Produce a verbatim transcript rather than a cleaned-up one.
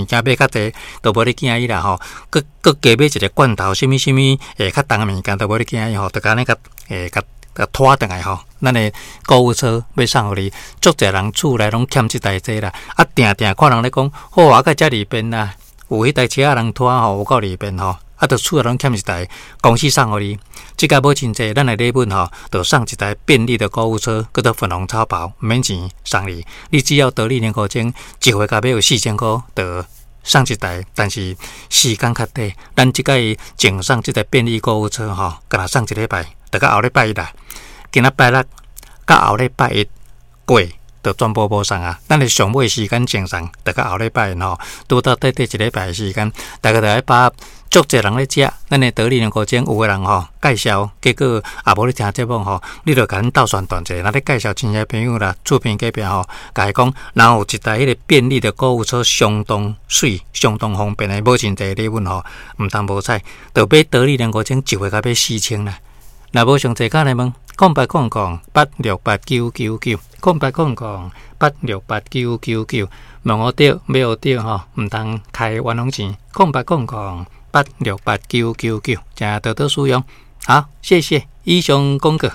物件買較濟，都無咧驚伊啦吼。閣閣加買一个罐頭，啥物啥物會較重的物件都無咧驚伊吼，就按呢共會共共拖轉來吼。咱的購物車欲送予你，足濟人厝內攏欠這台這啦。啊，定定看人咧講，好啊，閣遮利便啦，有彼台車仔人拖吼，有夠利便吼。啊，就厝內攏欠一台，公司送予你。這個無真濟，咱的禮物吼，就送一台便利的購物車，叫做粉紅超跑，毋免錢送你。你只要得利年五千，一回共買有四千箍，就送一台。但是時間較短，咱這擺贈送這台便利購物車吼，干焦送一禮拜，就到後禮拜一啦。今仔拜六到後禮拜一過，就全部無送啊！咱的上尾時間贈送，就到後禮拜吼，拄到短短一禮拜的時間，大家就愛把握。足濟人咧食，咱的得利兩箍鐘有的人吼介紹，結果也無咧聽節目吼，你就共阮鬥宣傳者，若咧介紹親戚朋友啦，厝邊隔壁吼，共伊講，若有一台彼个便利的購物車，相當媠、相當方便的，無真濟禮物吼，毋通無彩，就買得利兩箍鐘，一回共買四千啦。若無上濟，敲來問，空八空空八六八九九九，空八空空八六八九九九，問予著，買予著吼，毋通開冤枉錢，空八空空八六八九九九，請多多使用。好，謝謝。以上廣告。